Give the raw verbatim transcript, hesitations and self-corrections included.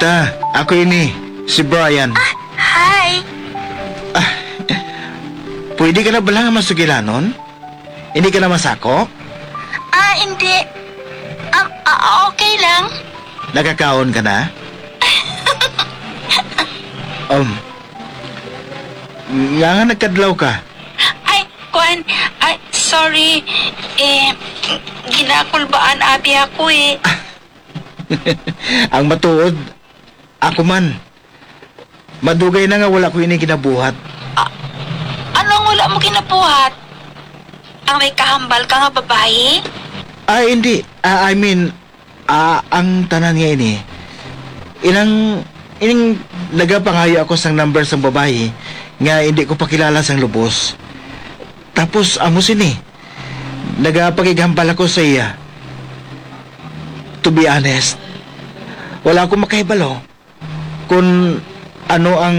Ta, ako ini, si Brian. Ah, hi. Ah, pwede ka na bala nga masugilanon? Hindi ka na masako? Ah, hindi. Um, ah, okay lang. Nakakaon ka na? Um, nga nga nagkadlaw ka? Ay, kuan, ay, sorry. Eh, ginakulbaan abi ako eh. Ang matuod, ako man. Madugay na nga wala ko ini ginabuhat. A-, ano ang wala mo ginabuhat? Ang may kahambal ka nga babayi? Ah, hindi. Ah, I mean, ah, ang tanan nga ini, inang, ining nagapangayo ako sang number sang babayi nga hindi ko pa kilala sang lubos. Tapos, amo sini, nagapakighambal ako sa iya. To be honest, wala ako makahibalo kung ano ang